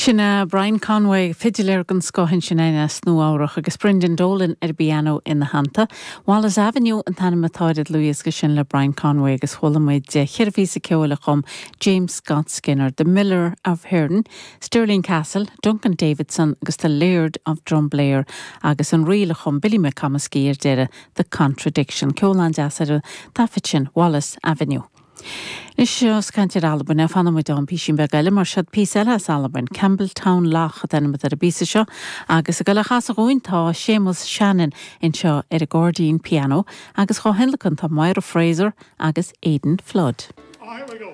Sin é Brian Conway, fidiléir den scoth ansin as Nua Eabhrach agus Brendan Dolan ar an bpianó ina theannta. Wallace Avenue an t-ainm atá ar an dlúthdhiosca sin le Brian Conway agus chuala muid cheithre phíosa ceoil a chum James Scott Skinner, The Miller of Hearne, Stirling Castle, Duncan Davidson agus The Laird of Drumblair agus an ríl a chum Billy McComiskey ar deireadh, The Contradiction. Ceol an-deas ar an taifead sin, Wallace Avenue. Anois, ós ag caint ar Albain, fanfaidh muid ann písín beag eile, mar seod píosa eile as Albain, Campbeltown Loch an t-ainm atá ar an bpíosa seo, agus ag dul á chasadh dhúinn tá Séamus Shannon anseo ar an gcairdín pianó agus dhá thionlacan tá Máire Fraser agus Aidan Flood. Ah, here we go.